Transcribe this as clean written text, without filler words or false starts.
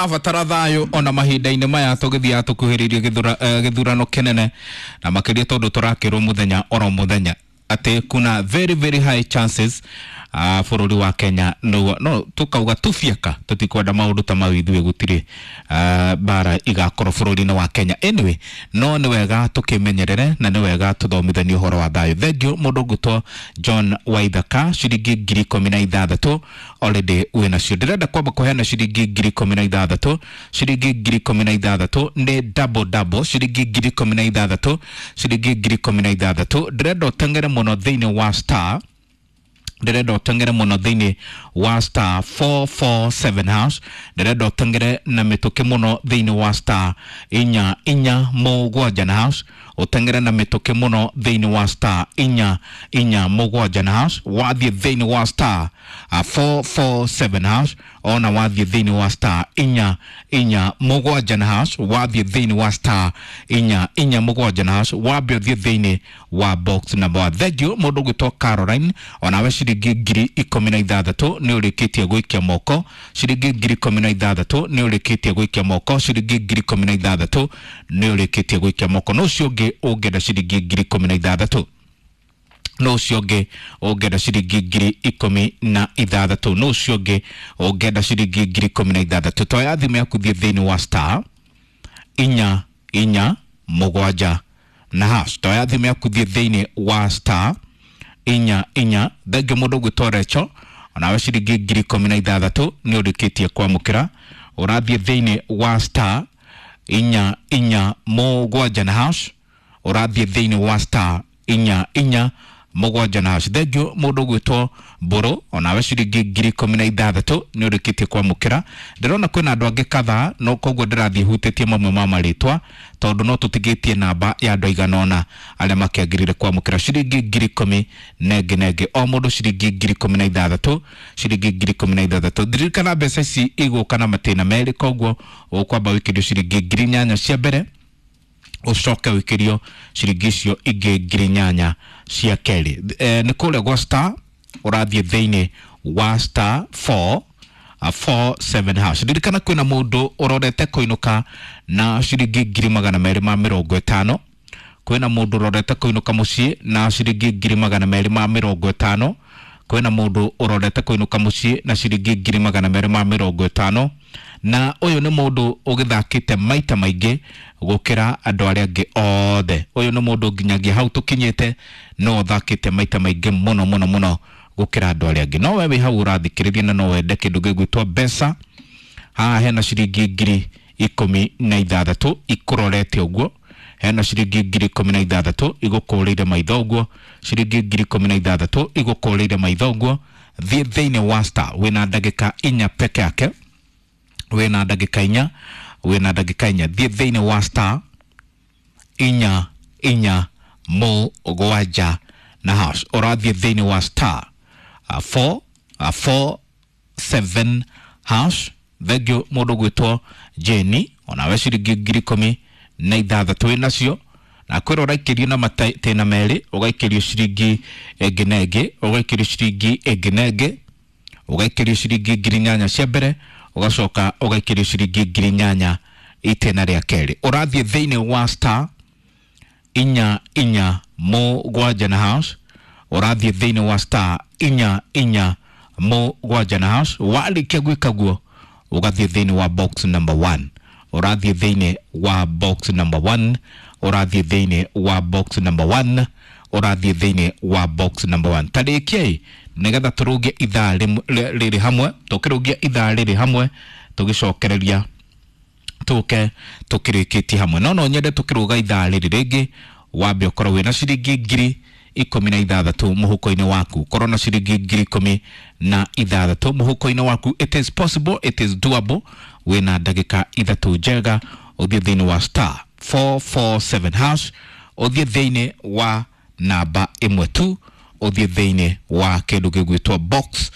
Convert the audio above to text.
Abatara thayũ ona mahinda-inĩ maya tũgĩthiaga tũkuhĩrĩirie gĩthurano kĩnene, na makĩria tondũ tũrakĩrwo mũthenya oro mũthenya atĩ kuna very very high chances bũrũri wa Kenya no tukauga tubiaka tũtikwenda maũndũ ta mau ithuĩ gũtirĩ mbara igakorwo bũrũri-inĩ wa Kenya. Anyway, no nĩ wega tũkĩmenyerere na nĩ wega tũthomithanie ũhoro wa thayũ. Thank you mũndũ ngũtwo John Waithaka, ciringi 16,000 already wĩ nacio. Ndĩrenda kwamba kũheana ciringi 16,000. Ciringi 16,000 nĩ double double, ciringi 16,000, ciringi 16,000. Ndĩrenda ũteng'ere mũno thĩinĩ wa star, ndĩrenda ũteng'ere mũno thĩinĩ wa star 447 hash. Ndĩrenda ũteng'ere na mĩtũkĩ mũno thĩinĩ wa star 447 na hash. Ũteng'ere na mĩtũkĩ mũno thĩinĩ wa star 447 na hash. Wathiĩ thĩinĩ wa star 447 hash, ona wathiĩ thĩinĩ wa star 447 na hash, wathiĩ thĩinĩ wa star 447 na hash, wambe ũthiĩ thĩinĩ wa box number 1. Thank you mũndũ ũgwĩtwo Caroline, onawe ciringi 16,000 nĩ ũrĩkĩtie gwĩkia moko. Ciringi 16,000 nĩ ũrĩkĩtie gwĩkia moko. Ciringi 16,000 nĩ ũrĩkĩtie gwĩkia moko. No ũcio ũngĩ ũngĩenda ciringi 16,000, no ũcio ũngĩ ũngĩenda ciringi 16,000, no ũcio ũngĩ ũngĩenda ciringi 16,000, toya thimũ yaku, thiĩ thĩinĩ wa star 447 na hash. Toya thimũ yaku, thiĩ thĩinĩ wa star 44. Thengiũ mũndũ ũgwĩtwo Recho, onawe ciringi 16,000 nĩ ũrĩkĩtie kwamũkĩra. Ũrathiĩ thĩinĩ wa star 447 na hash. Ũrathiĩ thĩinĩ wa star 447 na hash. Thengiũ mũndũ ũgwĩtwo Mbũrũ, onawe ciringi 16,000 nĩ ũrĩkĩtie kwamũkĩra. Ndĩrona kwĩna andũ angĩ kadhaa, no koguo ndĩrathiĩ hutĩtie mamwe ma marĩtwa tondũ no tũtigĩtie namba ya andũ aigana ũna arĩa makĩagĩrĩire kwamũkĩra ciringi 10,000 nenge o mũndũ, ciringi 16,000, ciringi 16,000. Ndirikana mbeca ici igũka na matĩna merĩ, koguo ũkwamba wĩkĩrio ciringi 8,000 cia mbere, ũcoke wĩkĩrio ciringi icio ingĩ 8,000 cia kerĩ. Nĩ kũrĩa gwa star, ũrathiĩ thĩinĩ wa star 4 47 hash. Ririkana kwĩna mũndũ ũrorete kũinũka na ciringi 250,000. Kwĩna mũndũ ũrorete kũinũka mũciĩ na ciringi 250,000. Kwĩna mũndũ ũrorete kũinũka mũciĩ na ciringi 250,000, na ũyũ nĩ mũndũ ũgĩthakĩte maita maingĩ gũkĩra andũ arĩa angĩ othe. Ũyũ nĩ mũndũ nginyagia hau tũkinyĩte no ũthakĩte maita maingĩ mũno mũno mũno gũkĩra andũ arĩa angĩ. No we wĩ hau ũrathikĩrĩria na no wende kĩndũ gĩgwĩtwo mbeca, haha hena ciringi 16,000 ikũrorete ũguo. Hena ciringi 16,000 igũkũrĩire maitho ũguo. Ciringi 16,000 igũkũrĩire maitho ũguo. Thiĩ thĩinĩ wa star, wĩna ndagĩka 4 peke yake, wĩna ndagĩka 4, wĩna ndagĩka 4. Thiĩ thĩinĩ wa star 447 na hash. Ũrathiĩ thĩinĩ wa star 4 4 7 hash. Thengiũ mũndũ gwĩtwo Jeni, onawe ciringi 16,000 wĩ nacio. Na kwĩra ũraikĩrio na matĩna merĩ, ũgaikĩrio ciringi ĩngĩ na ĩngĩ, ũgaikĩrio ciringi ĩngĩ na ĩngĩ, ũgaikĩrio ciringi 8,000 cia mbere, ũgacoka ũgaikĩrio ciringi 8,000 itĩna rĩa kerĩ. Ũrathiĩ thĩinĩ wa star 447 na hash. Ũrathiĩ thĩinĩ wa star 447 na hash. Warĩkia gwĩka guo, ũgathiĩ thĩinĩ wa box number 1. Ũrathiĩ thĩinĩ wa box number 1. Ũrathiĩ thĩinĩ wa box number 1. Ũrathiĩ thĩinĩ wa box number 1. Tarĩkiai nĩgetha tũrũgie ithaa rĩrĩ hamwe, tũkĩrũgia ithaa rĩrĩ hamwe, tũgĩcokereria tũke tũkĩrĩkĩtie hamwe. No no nyende tũkĩrũga ithaa rĩrĩ rĩngĩ wambe ũkorwo wĩna ciringi 16,000 mũhuko-inĩ waku. Korwo na ciringi 16,000 mũhuko-inĩ waku. It is possible, it is doable. Wĩna ndagĩka 3 njega. Ũthiĩ thĩinĩ wa star 447 hash, ũthiĩ thĩinĩ wa namba 1 tu, ũthiĩ thĩinĩ wa kĩndũ gĩgwĩtwo box